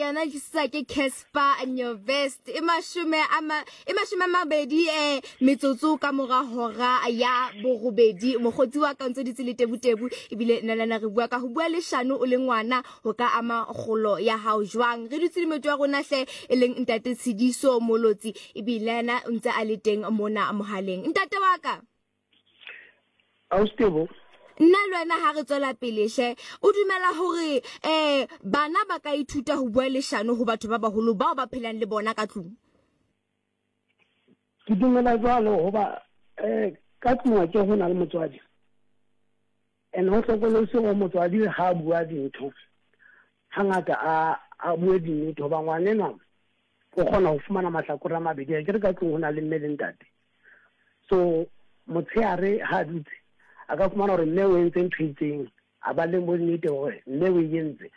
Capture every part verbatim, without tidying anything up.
Yona tlisetswa ke Casper Nyovest. E mashome a ma e mashome a mabedi eh metsotso ka mora hora ya borobedi. Mokgotsi wa ka o ntse dutse le tebutebu, ebile nna le wena re bua ka ho bua leshano o le ngwana ho ka ama kgolo ya hao jwang. Re dutse le moeti wa rona hle, e leng ntate Tshidiso Molotsi, ebile yena o ntse a le teng mona mohaleng. Ntate wa ka, Ausi, nna le wena ha re tswela pele hle, o dumela hore eh bana ba ka ithuta ho bua leshano ho batho ba baholo bao ba phelang le bona ka tlung? Ke dumela jwalo, hoba um ka tlung ke ho na le motswadi, and ho hlokolosi hore motswadi ha a bua dintho hangata a a bue dinnete, hoba ngwanenwa o kgona ho fumana mahlakore a mabedi. Ke re ka tlung ho na le mme le ntate, so motshehare ha a dutse a ka fumana hore mme o entse ntho e itseng, a ba le bonnete hore mme o e entse.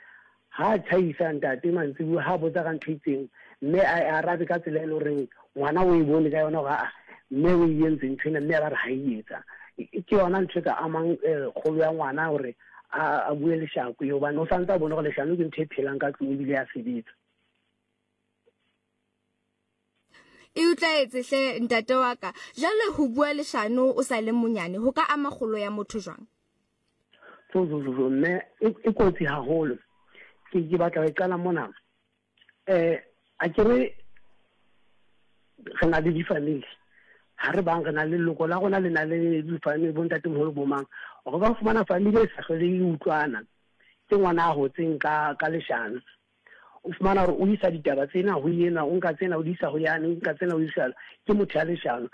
Ha tjhaisa ntate mantsibuya, ha botsa ka ntho e itseng, mme a arabe ka tsela e leng horeng ngwana o e bone ka yona hore aa, mme o e entse ntho ena, mme a ba re ha e etsa. Ke yona ntho e ka amang kgolo ya ngwana hore a bue leshano eo, hobane o santse a bone hore leshano ke ntho e phelang ka tlung ebile ya sebetsa. E utlwaetse hle, ntate wa ka. Jwale ho bua leshano o sa le monyane ho ka ama kgolo ya motho jwang? So so so mme e kotsi haholo. Ke ke batla ho e qala mona. Eh a ke re re na le di-family, ha re bang re na le leloko la rona le na le di-family, bo ntatemoholo, bo mang. O ka fumana family e sa hlole e utlwana, ke ngwana a hotseng ka ka leshano. O fumana hore o isa ditaba tsena ho yena, o nka tsena o di isa ho yane, o nka tsena o isa, ke motho ya leshano.